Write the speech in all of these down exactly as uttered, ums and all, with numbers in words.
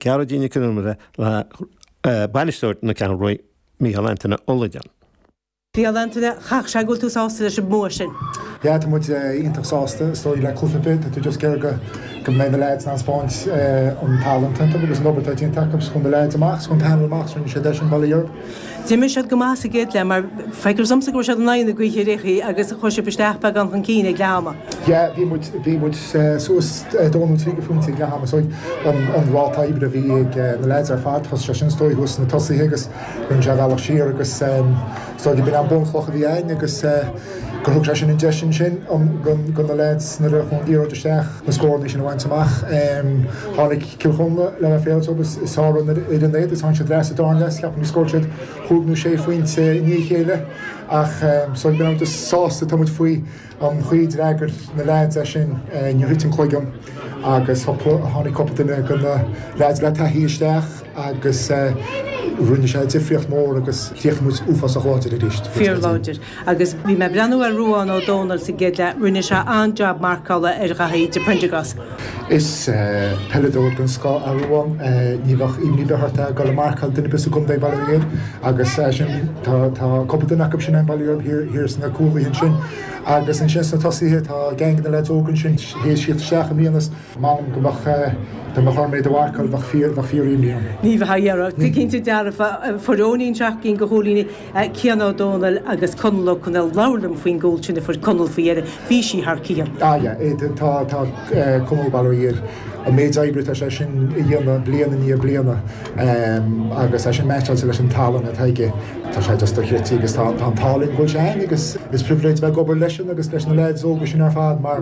Gearóidín Nic Con Iomaire le bainisteoir na Ceathrún Rua, Micheál Antaine Ó Loideáin. Micheál Antaine, chaithfeadh sé go bhfuil tú sásta leis an mbua sin. Yeah, tá muid iontach sásta is dóigh le cluiche ar bith, tá tú just ag iarraidh go go mbeidh na lads in ann spáint an tallann iontu agus an obair atá déanta acu chun na lads amach, chun panel amach, rinne siad é sin Baile Europe. D'imir siad go maith sa gcéad leath mar feictear domsa go raibh siad in aghaidh na gaoithe réchaí agus chuir sibh isteach beagán chun cinn ag leath ama. Yeah, bhí muid bhí muid suas dó nó trí phointe ag leath ama so an an ráta oibre a bhí ag na lads ar fad thosaigh sé sin is dóigh thuas na tosaithe agus rinne sé bealach siar agus is dóigh b'in an bunchloch a bhí ann agus gur thug sé sin an deis sin sin go na lads nuair a chuaigh an liathróid isteach na scóranna sin a bhaint amach. Tháinig Cill Chonla le bheith féil agus is sár ar an éad is tháinig siad leis sa darna leath ceapaim scór siad cúig nó sé phointe i ndiaidh a chéile ach so bhí muid sásta tá muid faoi an chaoi a d'fhreagair na lads é sin níor thit an cloigeann agus tháinig cúpla duine go na lads le taithí isteach agus rinne sé difríocht mór agus chríochnaigh muid uafásach láidir arís. Fíorláidir. Agus bhí mé breathnú ar Ruán Ó Dónaill sa gcéad leath, rinne sé an-jab marcála ar Dhaithí de Prendergast. Is peileadóir den scoth é Ruán ní bheadh imní ort é go le marcáil duine bis a gom Baile agus sin tá cúpla duine acu sin an Baile thiar sna cúlaithe sin agus ansin sna tosaithe tá gang na lads óga sin théis siad isteach i mbliana M'anam go mbeadh dá mbeadh orm é do mharcáil bheadh fíor bheadh fíor-imní orm. Ní bheadh Tá cinnte dearfa fuair Eoinín seacht gcinn de chúilíní Cian Ó Dónaill agus Conall Ó Conaill labhair liom faoin gcúl sin a fuair Conall faoi dheireadh bhí sí thar cionn. Ah yeah, tá tá Conall Baile an méid oibre tá sé sin a dhéanamh bliain i ndiaidh bliana agus é sin meaitseáilte leis an tallann atá aige tá sé just dochreidte agus tá an tallann go bhfuil sé ann agus is pribhléid bheith ag obair leisean agus leis na lads óga sin ar fad mar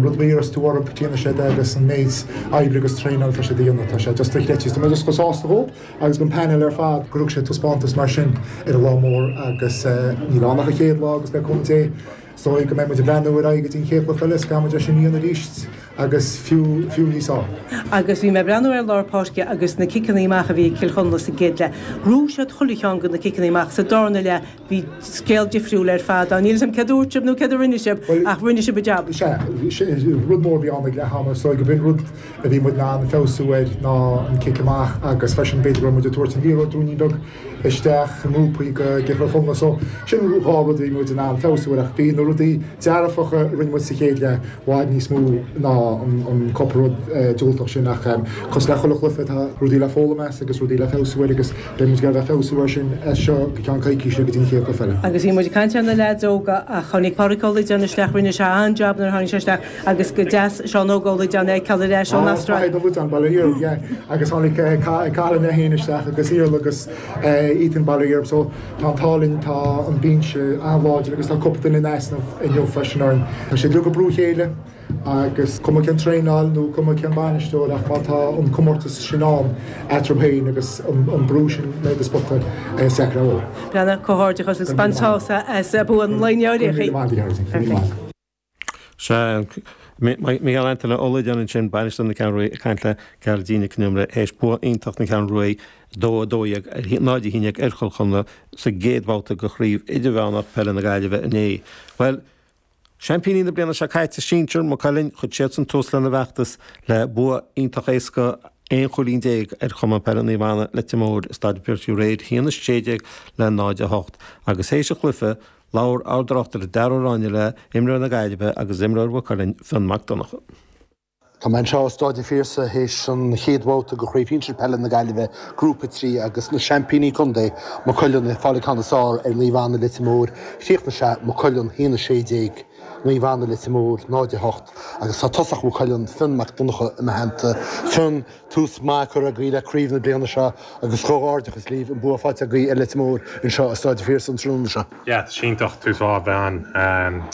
rud a tú orthu déanann siad agus an méid oibre agus traenáil tá sé déanamh tá sé just dochreidte Tá mé just go sásta dhó agus an panel ar fad go sé taispeántas mar sin ar an lá mór agus níl ann ach an chéad lá agus le cúnamh Dé so go mbeidh muid ag breathnú ar aghaidh go dtí an chéad lá eile go mbeidh sin íon arís agus fiú fiú níos fearr. Agus bhí mé breathnú ar lár páirce agus na ciceanna amach a bhí Cill Chonla sa gcéad leath. Bhuaigh siad chuile cheann de na ciceanna amach sa darna leath bhí scéal difriúil ar fad ann. Níl cad dúirt sibh nó cad a rinne sibh ach rinne sibh jab. Se rud mór bhí ann ag leath ama so go b'in rud a bhí muid ná an feabhsú air ná an cic amach agus freisin b'fhéidir go muid tabhairt an liathróid ní beag isteach ngrúpaí go Cill Chonla so sin dhá rud bhí muid in ann feabhsú air ach bhí na rudaí dearfacha rinne muid sa chéad leath i bhfad níos mó ná an cúpla rud diúltach sin ach cos le chuile chluiche tá rudaí le foghlaim as agus rudaí le feabhsú air agus beidh muid le feabhsú air sin as seo go ceann coicíse go dtí an chéad chluiche eile. Agus bhí muid caint ar na lads óga ach tháinig Pádraig Ó Loideáin isteach rinne sé an-jab nuair tháinig sé isteach agus go deas Seán Óg Ó Loideáin ag cail leis ón Astráil. Baile agus tháinig Colin é féin isteach agus Iarla agus Ethan Baile so tá an t-ádh tá an binse an-láidir agus tá cúpla duine in easnamh inniu freisin orm. Tá sé ag brú chéile agus cuma cén traenáil nó cuma cén bainisteoir ach má tá an comórtas sin ann eatarthu féin agus an brú sin le do spota secrá. Brena comhghairdeachas agus bain sult as bua an lae inniu. Se Micheál Antaine Ó Loideáin sin bainisteoir na Ceathrún Rua caint le Gearóidín Nic Con Iomaire théis bua iontach na Ceathrún Rua dó dó náid a haon déag ar Chill Chonla sa gcéad bhabhta de chraobh idirmheánach peile na Gaillimhe inné. Well, Seaimpíní na bliana seo caite sinsir Maigh Cuilinn chuir siad san tús lena bhfeachtas le bua iontach éasca aon chúilín déag ar Chumann Peile Naomh Anna Leitir Móir Staid Phiarsaigh aréir haon a sé déag le náid a hocht agus théis an chluiche labhair ár dtráchtaire Dara Ó Ráinne le imreoir na Gaillimhe agus imreoir Mhaigh Cuilinn Fionn Mac Donncha. Tá mé anseo i Staid an Phiarsaigh théis an chéad bhabhta de chraobh shinsir peile na Gaillimhe grúpa trí agus na seaimpíní contae Maigh Cuilinn fáil ceann is fearr ar Naomh Anna Leitir Móir chríochnaigh sé Maigh Cuilinn haon a sé déag Naomh Anna Leitir Móir náid a hocht agus tá tosach Mhaigh Cuilinn Fionn Mac Donncha i mo theannta Fionn tús maith curtha agaibh le craobh na bliana seo agus comhghairdeachas libh an bua faighte agaibh ar Leitir Móir anseo i Staid an Phiarsaigh an tráthnóna seo. Yeah, iontach tús mhaith bhean. Um,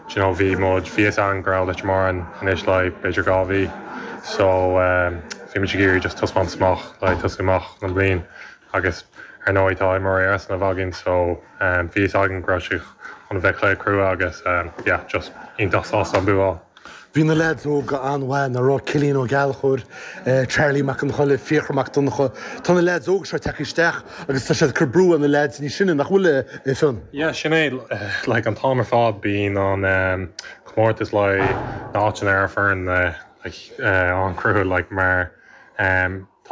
you know, bhí muid bhí an go raibh Leitir Móir anois le b'fhéidir dhá mhí so um, bhí muid ag iarraidh just taispeántas amach le tosú amach an bliain agus ar ndóigh tá mar san a bhagin so um, bhí againn go raibh sé chun bheith cluiche crua agus um, yeah, just iontach sásta an bua. Bhí na lads óga an-mhaith na rá Cillian Ó Gallchóir, eh, Charlie Mac an Cholle, Fiachra Mac Donncha Tá na lads óga seo tagtha isteach agus tá siad cur brú na lads níos sine nach bhfuil é Fionn. Yeah, sin é like an t-am ar fad bíonn an um, comórtas le áiteanna ar foireann uh, like, uh, an-chrua like mar um,